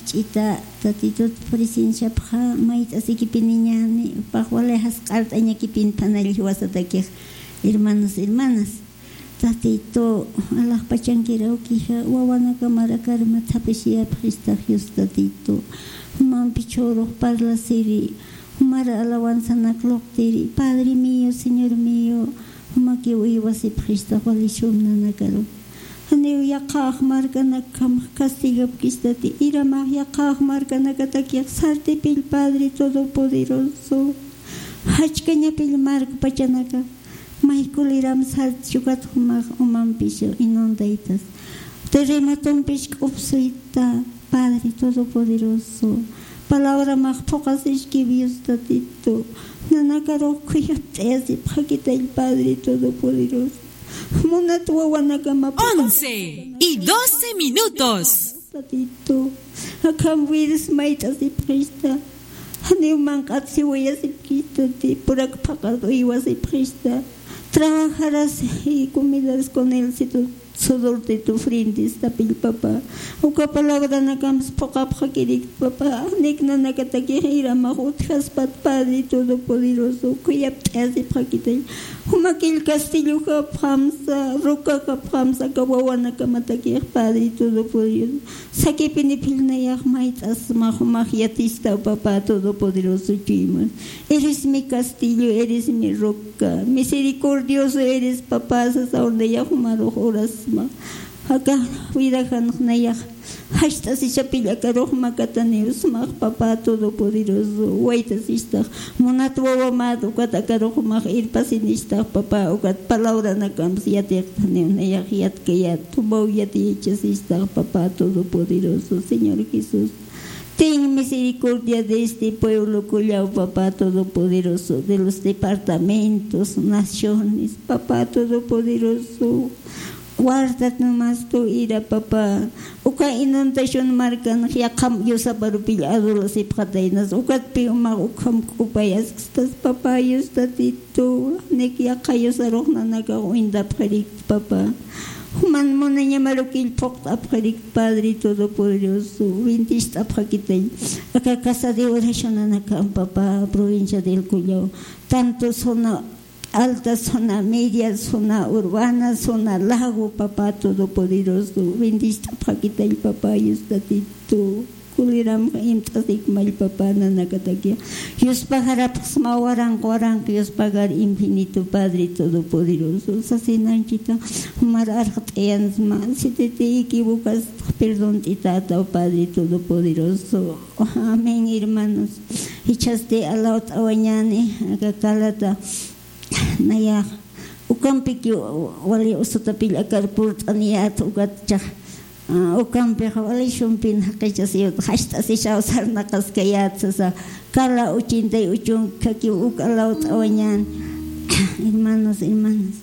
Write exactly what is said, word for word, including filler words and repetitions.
Ch'ita, Tatitut presenciapxa mayt'asikipiniñäni, jupax wali jasq'art'añakipin phanall jiwasatakix, hermanos, hermanas. Tatitu, alaxpachankiraw kija, wawanakamaraka armat jap'isiyapxistax Dios Tatitu. Jumampi chhurux parlasiri, jumara alawanzanak luqtiri, Padre mío, Señor mío, jumakiw uywasipxistax wali sum nanakaru. Janiw yaqhax markanakjamax castigapkistati, iramax yaqhax markanakatakix sartipill Padre Todopoderoso. Jachkañapill markpachanaka, maykuliram sarti chukat jumax umampisu inundaytas. Terremotompish k'upsuyta, Padre Todopoderoso. Palabramax phuqasiski Dios Tatitu. Nanakarux khuyapt'ayasipxakitay Padre Todopoderoso. Munat wawanakama Once y doce minutos. Tatitu. Akham vidas mayt'asipxista. Janiw manq'at siwayasipxista, ti purak phaqat uywasipxista. Trabajarás y comidas con él si tu sudor de tu frente está pil papá. Uka palabranakams phuqapxakirik papá. Nik nanakatakix iramax utjaspat Padre Todopoderoso. Khuyapt'ayasipxakitay. Jumakill castillo japxamsa, roca japxamsa, aka wawanakamatakix Padre Todopoderoso. Sakipiniphill nayax mayt'asma jumax yatistaw papá Todopoderoso chuyma. Eres mi castillo, eres mi roca. Misericordioso eres papá, sasaw nayax jumarux urasma. Aka vidajanx nayax jacht'asishapill akarux makataniw smax papá Todopoderoso. Waytasistax. Munat wawamät ukat akarux jumax irpasinistax papá, ukat palabranakams yatiqtaniw nayax yatkayät, tumaw yatiyachasistax papá Todopoderoso, Señor Jesús. Ten misericordia de este pueblo kullaw papá Todopoderoso, de los departamentos, naciones, papá Todopoderoso. Guardat nomás tu ira papá. Uka inundación markan yaqham yusaparupill adulasipxataynas. Ukatpi umax ukham k'upayaskistas papá Dios Tatitu. Nik yaqha yusarux nanakax uñtapxirik papá. Juman munañamarukill phuqt'apxirik Padre Todopoderoso. Bendist'apxakitay. Aka casa de oración nanakam papá, provincia del Cullao. Tanto zona alta, zona media, zona urbana, zona lago, papá Todopoderoso. Bendist'apxakitay papá Dios Tatitu. Kuliram imt'asikmall papá nanakataki. Yuspagarapxsma waranq waranq yuspagar infinito Padre Todopoderoso. Sasinanchita, jumar arxt'ayansma. Sititi equivocas, perdón t'itataw Padre Todopoderoso. Amén, hermanos. Jichhasti alawt'awañäni, aka kalata nayax ukampiki wali usutapill akar purt'aniyät, ukat chax, ah, ukampix wali sumpin jaqichasiyät, jacht'asishaw sarnaqaskayät sasa, kala ochenta y ocho kakiw uk alawt'awañän. Hermanos, hermanas.